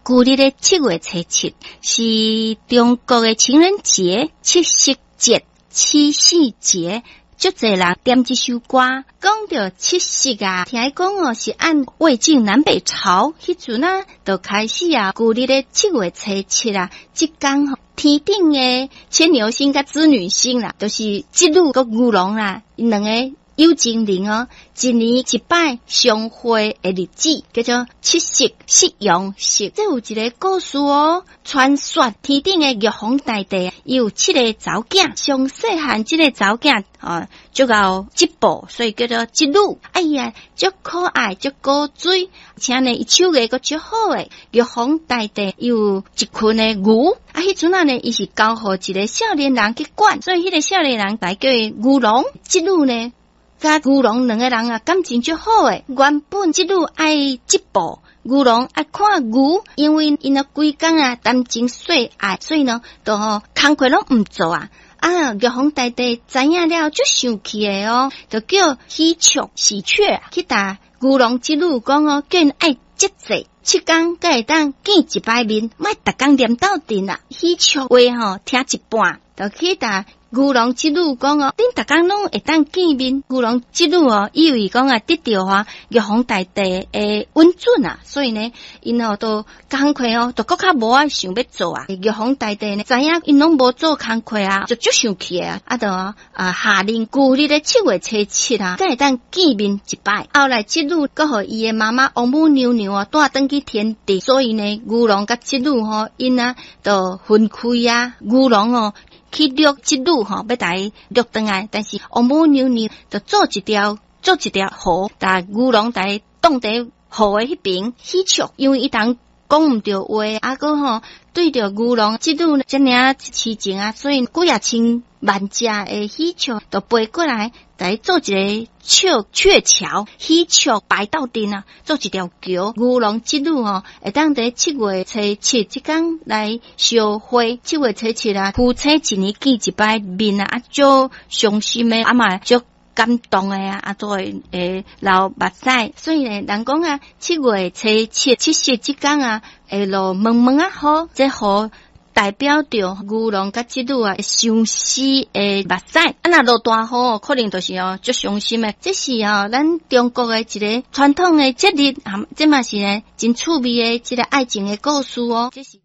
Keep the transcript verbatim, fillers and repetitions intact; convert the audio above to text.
舊曆的七月初七是中國的情人節、七夕節、七夕節。足濟人點這首歌，講著七夕啊，聽講哦是按魏晉南北朝彼陣啊，就開始啊，舊曆的七月初七啊，這工天頂的牽牛星佮織女星啦，就是織女佮牛郎啦，𪜶兩个有情人哦，一年一擺相會的日子，叫做七夕、夕陽夕。這有一个故事哦，傳說天頂的玉皇大帝有七个查某囝，上細漢這个查某囝哦，足𠢕織布，所以叫做織女。哎呀，足可愛，足古錐，而且呢，伊手藝閣足好的。玉皇大帝有一群的牛，啊，彼陣仔呢，伊是交予一个少年人去管，所以彼个少年人來叫伊牛郎。織女呢，佮牛郎兩个人啊，感情足好的。原本織女愛織布，牛郎愛看牛，因為𪜶啊規工啊談情說愛，所以呢，都吼工課攏毋做啊。啊，玉皇大帝知影了，足生氣的哦，就叫喜鵲喜鵲去共牛郎織女講哦，叫𪜶愛節制，七工才會當見一擺面，莫逐工黏鬥陣啦。喜鵲話吼聽一半，就去共牛郎織女講哦，恁逐工攏會當見面。牛郎織女哦，以為講啊得著啊玉皇大帝的允准啊，所以呢，𪜶哦都工課哦，就閣較無愛想欲做啊。玉皇大帝呢，知影𪜶攏無做工課啊，就足生氣的啊，啊就啊下令舊曆的七月初七啊，才會當見面一擺。後來織女閣予伊的媽媽王母娘娘啊帶轉去天庭，所以呢，牛郎佮織女吼，𪜶啊就分開啊，牛郎哦去掠織女吼，欲共伊掠轉來，但是王母娘娘就做一條做一條河，共牛郎共伊擋佇河的彼爿。喜鵲，因為伊通講毋著話，啊閣吼對著牛郎織女遮爾仔痴情啊，所以幾仔千萬隻的喜鵲就飛過來，共伊做一个鵲鵲橋，喜鵲排鬥陣啊，做一條橋。牛郎織女吼，會當佇七月初七這工來相會。七月初七啊，夫妻一年見一擺面啊，啊足傷心的，啊嘛足感動的啊，啊都會會流目屎。所以呢，人講啊，七月初七七夕這工啊，會落毛毛仔雨，這雨代表著牛郎佮織女啊相思的目屎。啊，若落大雨，可能就是哦足傷心的。這是哦咱中國的一个傳統的節日，這嘛是呢真趣味的這个愛情的故事哦。這是。